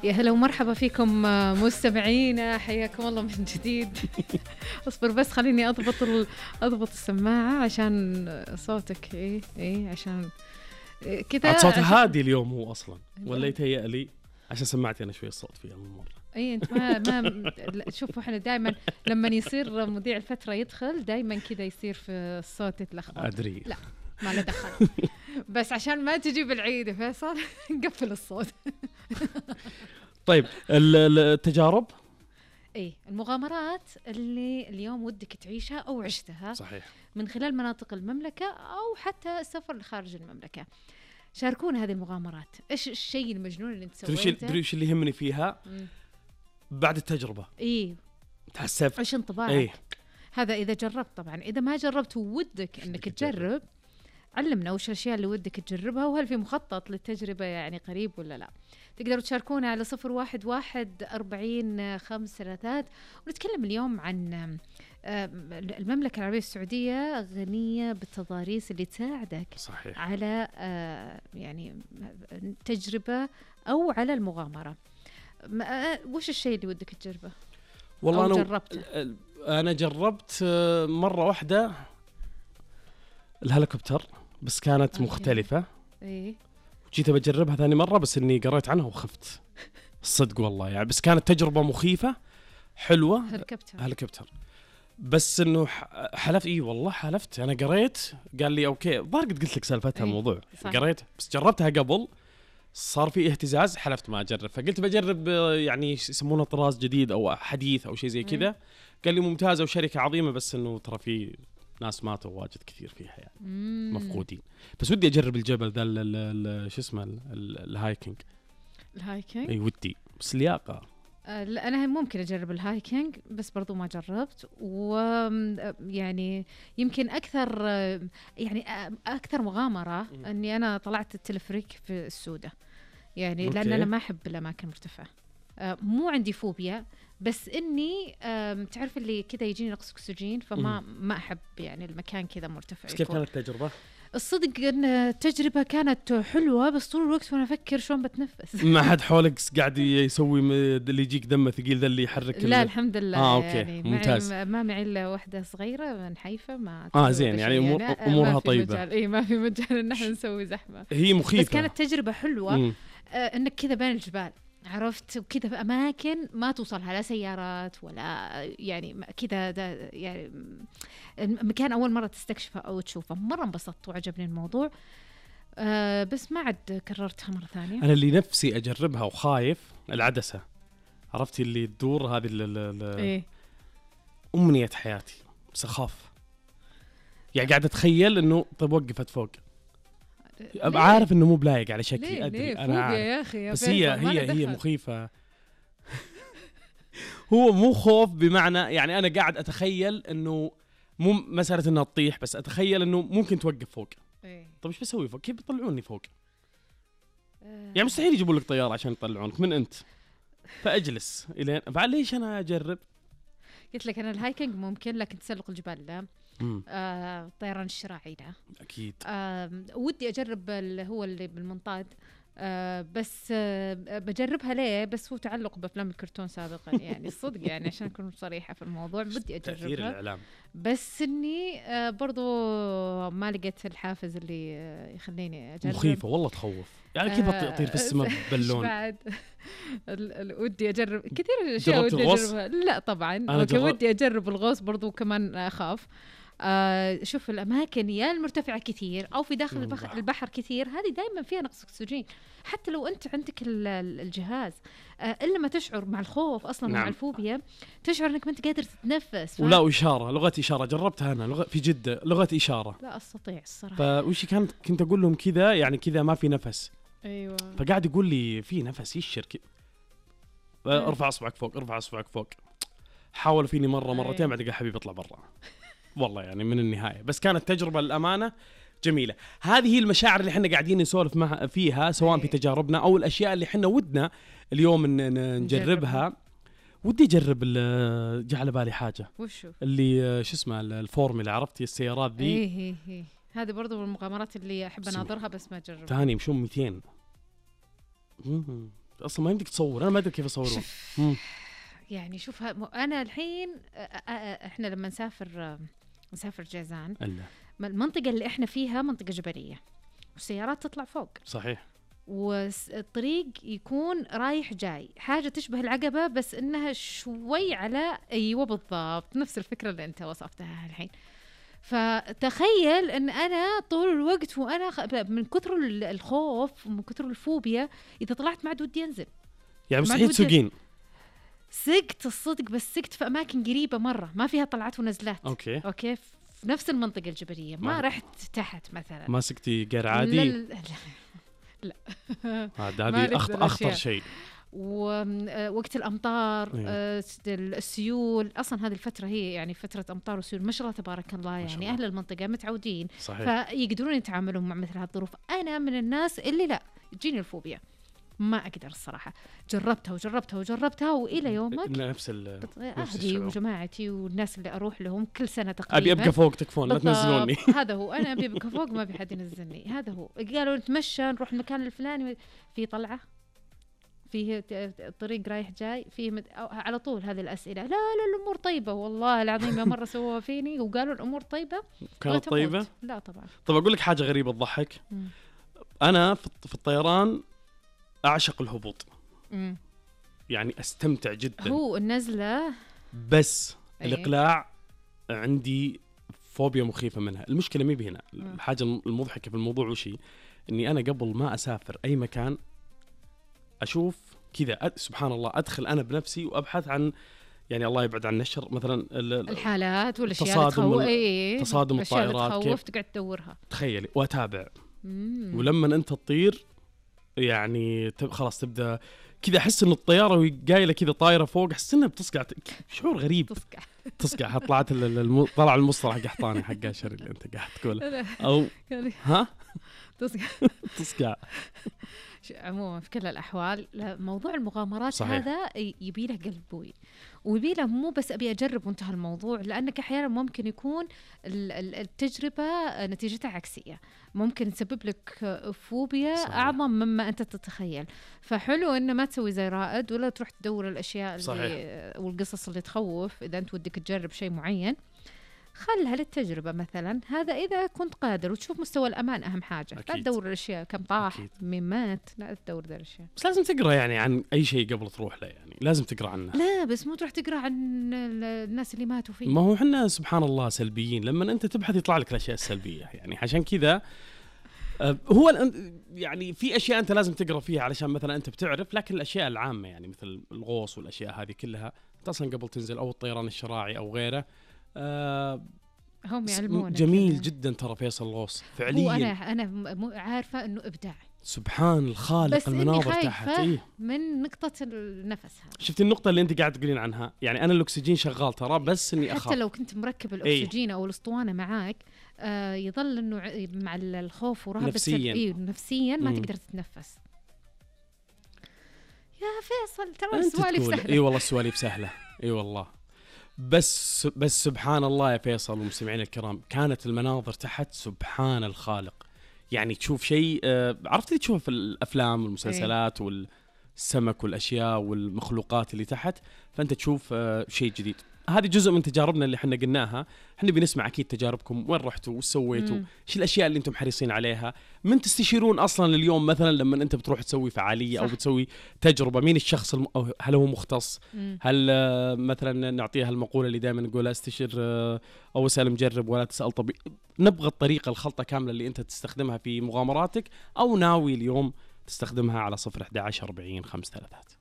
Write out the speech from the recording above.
يا هلا ومرحبا فيكم مستمعينا، حياكم الله من جديد. اصبر بس خليني اضبط السماعة عشان صوتك ايه عشان كذا. صوت هادي اليوم هو اصلا ولا يتهيأ لي عشان سمعتي انا شوي الصوت فيه اول مرة. اي انت ما شوفوا احنا دائما لما يصير مذيع الفترة يدخل دائما كذا يصير في الصوت يتلخبط. ادري لا ما له دخل. بس عشان ما تجيب العيد يا فيصل نقفل الصوت. طيب التجارب المغامرات اللي اليوم ودك تعيشها أو عشتها صحيح من خلال مناطق المملكة أو حتى السفر لخارج المملكة. شاركونا هذه المغامرات. إيش الشيء المجنون اللي انت سويته؟ تدري ايش اللي يهمني فيها؟ بعد التجربة تحسب ايش انطباعك؟ هذا إذا جربت. طبعا إذا ما جربت ودك إنك تجرب، علمنا وش الأشياء اللي ودك تجربها، وهل في مخطط للتجربة يعني قريب ولا لا. تقدروا تشاركونا على 011-40-533. ونتكلم اليوم عن المملكة العربية السعودية غنية بالتضاريس اللي تساعدك صحيح على يعني تجربة أو على المغامرة. وش الشيء اللي ودك تجربه؟ والله أنا جربت مرة واحدة الهليكوبتر، بس كانت مختلفة. جيت بجربها ثاني مرة بس إني قريت عنها وخفت الصدق والله يعني. بس كانت تجربة مخيفة حلوة. هليكوبتر بس إنه حلفت والله حلفت. أنا قريت قال لي أوكي ضارقت قلت لك سالفتها الموضوع. قريت بس جربتها قبل صار في اهتزاز، حلفت ما أجرب. فقلت بجرب يعني يسمونه طراز جديد أو حديث أو شيء زي كذا. قال لي ممتازة وشركة عظيمة بس إنه ترى في ناس ماتوا واجد كثير فيها يعني مفقودين. بس ودي أجرب الجبل ذا شو اسمه الهايكينج. أي ودي بس لياقة. لا أنا ممكن أجرب الهايكينج بس برضو ما جربت. ويعني يمكن أكثر مغامرة أني أنا طلعت التلفريك في السودة يعني لأن أنا ما أحب الأماكن المرتفعة. مو عندي فوبيا بس إني تعرف اللي كذا يجيني نقص أكسجين ما أحب يعني المكان كذا مرتفع. كيف كانت التجربة؟ الصدق أن التجربة كانت حلوة بس طول الوقت وأنا أفكر شلون بتنفس. ما حد حولك قاعد يسوي اللي يجيك دمه ثقيل ذا اللي يحرك؟ لا الحمد لله. أوكي يعني ممتاز. ما معي إلا واحدة صغيرة من حيفا ما زين يعني أمورها طيبة. ما في مجال إن احنا نسوي زحمة. هي مخيفة بس كانت تجربة حلوة. إنك كذا بين الجبال عرفت وكذا في أماكن ما توصلها لا سيارات ولا يعني كذا يعني مكان أول مرة تستكشفه أو تشوفه. مرة انبسطت وعجبني الموضوع. بس ما عاد كررتها مرة ثانية. أنا اللي نفسي أجربها وخايف العدسة، عرفتي اللي تدور هذه أمنية حياتي بس أخاف يعني. قاعد أتخيل إنه طيب وقفت فوق أبقى عارف إنه مو بلايق على شكلي. أدري أنا عارف يا أخي بس هي مخيفة. هو مو خوف بمعنى يعني أنا قاعد أتخيل إنه مو مسألة إنها تطيح بس أتخيل إنه ممكن توقف فوق. طيب إيش بسوي فوق؟ كيف بيطلعوني فوق؟ يعني مستحيل يجيبوا لك طيارة عشان يطلعونك من أنت. فأجلس إلين فعليش أنا أجرب. قلت لك أنا الهايكينج ممكن لكن تسلق الجبال لا. طيران الشراعي لا أكيد. ودي أجرب هو اللي بالمنطاد. بس بجربها ليه بس هو تعلق بأفلام الكرتون سابقا يعني الصدق يعني عشان أكون صريحة في الموضوع بدي أجربها بس إني برضو ما لقيت الحافز اللي يخليني أجرب. مخيفة والله تخوف يعني. كيف أطير في السماء باللون؟ بعد ودي أجرب كثير أشياء ودي أجربها. لا طبعا ودي أجرب الغوص برضو كمان أخاف. شوف الأماكن يا المرتفعة كثير أو في داخل البحر كثير هذه دائما فيها نقص أكسجين حتى لو أنت عندك الجهاز. إلا ما تشعر مع الخوف أصلا مع الفوبيا تشعر أنك ما أنت قادر تتنفس. ولا إشارة لغة إشارة جربتها أنا في جدة لغة إشارة لا أستطيع الصراحة. فوش كنت أقول لهم كذا يعني كذا ما في نفس. أيوة. فقاعد يقول لي في نفس يشر ارفع أصبعك فوق ارفع أصبعك فوق. حاولوا فيني مرتين بعد قال حبيبي اطلع برا. والله يعني من النهاية بس كانت تجربة الأمانة جميلة. هذه هي المشاعر اللي احنا قاعدين نسولف فيها سواء في تجاربنا أو الأشياء اللي احنا ودنا اليوم نجربها. ودي أجرب جعل بالي حاجة وشو اللي شو اسمه الفورمولا عرفتي السيارات ذي. هي هذه برضو من المغامرات اللي أحب أناظرها بس ما أجربها. ثاني مشون 200 اصلا ما يمديك تصور، انا ما ادري كيف اصوره. يعني شوف انا الحين احنا لما نسافر جازان المنطقه اللي احنا فيها منطقه جبليه والسيارات تطلع فوق صحيح، والطريق يكون رايح جاي، حاجه تشبه العقبه بس انها شوي على ايوه بالضبط نفس الفكره اللي انت وصفتها الحين. فتخيل ان انا طول الوقت وانا من كثر الخوف ومن كثر الفوبيا اذا طلعت ما عاد ودي انزل، يعني مستحيل تسوقين. سقت الصدق، بس سقت في اماكن قريبه مره ما فيها طلعات ونزلات. اوكي في نفس المنطقه الجبليه، ما رحت تحت مثلا. ما سقتي غير عادي؟ لا هذه اخطر شيء. ووقت الامطار السيول، اصلا هذه الفتره هي يعني فتره امطار وسيول ما شاء الله تبارك الله، يعني اهل المنطقه متعودين صحيح. فيقدرون يتعاملون مع مثل هذه الظروف. انا من الناس اللي لا تجيني الفوبيا، ما اقدر الصراحه. جربتها والى يومك نفس اهلي وجماعتي والناس اللي اروح لهم كل سنه تقريبا ابي ابقى فوق تكفون لا تنزلوني. هذا هو، انا ابي ابقى فوق ما في حد ينزلني. هذا هو. قالوا نتمشى نروح المكان الفلاني في طلعه فيه الطريق رايح جاي فيه على طول هذه الأسئلة. لا الأمور طيبة والله العظيم. مرة سووها فيني وقالوا الأمور طيبة. كانت طيبة؟ لا طبعا. طب أقول لك حاجة غريبة تضحك. أنا في الطيران أعشق الهبوط. يعني أستمتع جدا. هو النزلة بس الإقلاع عندي فوبيا مخيفة منها. المشكلة مي بهنا. الحاجة المضحكة في الموضوع وشي إني أنا قبل ما أسافر أي مكان أشوف كذا سبحان الله أدخل أنا بنفسي وأبحث عن يعني الله يبعد عن الشر مثلا الحالات والأشياء تصادم الطائرات كيف تقعد تدورها تخيلي وأتابع. ولما أنت تطير يعني خلاص تبدأ كذا أحس إن الطيارة وهي قايلة كذا طايرة فوق أحس إنها بتصقع شعور غريب. تصقع طلعت طلع المصطلح قحطاني حق الشر اللي أنت قاعد تقوله أو ها تصقع. عموما في كل الأحوال موضوع المغامرات صحيح. هذا يبي له قلب بوي ويبي له مو بس أبي أجرب وانتهى الموضوع، لأنك أحيانا ممكن يكون التجربة نتيجتها عكسية، ممكن تسبب لك فوبيا صحيح. أعظم مما أنت تتخيل. فحلو إنه ما تسوي زي رائد ولا تروح تدور الأشياء اللي والقصص اللي تخوف. إذا أنت ودك تجرب شيء معين خلها للتجربة مثلا، هذا إذا كنت قادر وتشوف مستوى الأمان أهم حاجة. لا تدور الأشياء كم طاح مين مات، لا تدور ذا الأشياء. بس لازم تقرأ يعني عن أي شيء قبل تروح له، يعني لازم تقرأ عنه. لا بس مو تروح تقرأ عن الناس اللي ماتوا فيه. ما هو حنا سبحان الله سلبيين، لما أنت تبحث يطلع لك الأشياء السلبية يعني عشان كذا هو يعني في أشياء أنت لازم تقرأ فيها علشان مثلا أنت بتعرف، لكن الأشياء العامة يعني مثل الغوص والأشياء هذه كلها أنت أصلا قبل تنزل أو الطيران الشراعي أو غيره هم يعلمون. جميل كده. جدا ترى فيصل الغوص فعليا. أنا عارفة إنه إبداع سبحان الخالق. المناظر تحت من نقطة النفس هذا. شفت النقطة اللي أنت قاعد تقولين عنها، يعني أنا الأكسجين شغال ترى بس إني أخاف. حتى لو كنت مركب الأكسجين أو الأسطوانة معاك يظل إنه مع الخوف ورهبة نفسيا ما تقدر تتنفس. يا فيصل ترى السوالف سهلة. إي والله السوالف سهلة. إي والله بس سبحان الله يا فيصل ومستمعين الكرام، كانت المناظر تحت سبحان الخالق. يعني تشوف شيء عرفت اللي تشوفه في الأفلام والمسلسلات والسمك والأشياء والمخلوقات اللي تحت، فأنت تشوف شيء جديد. هذه جزء من تجاربنا اللي احنا قلناها. احنا بنسمع اكيد تجاربكم، وين رحتوا وش سويتوا، ايش الاشياء اللي انتم حريصين عليها، من تستشيرون اصلا اليوم مثلا لما انت بتروح تسوي فعاليه صح. او بتسوي تجربه، مين الشخص هل هو مختص، هل مثلا نعطيها المقوله اللي دائما نقولها استشير او اسال مجرب ولا تسال طبيب. نبغى الطريقه الخلطه كامله اللي انت تستخدمها في مغامراتك او ناوي اليوم تستخدمها على 011 40 5 3.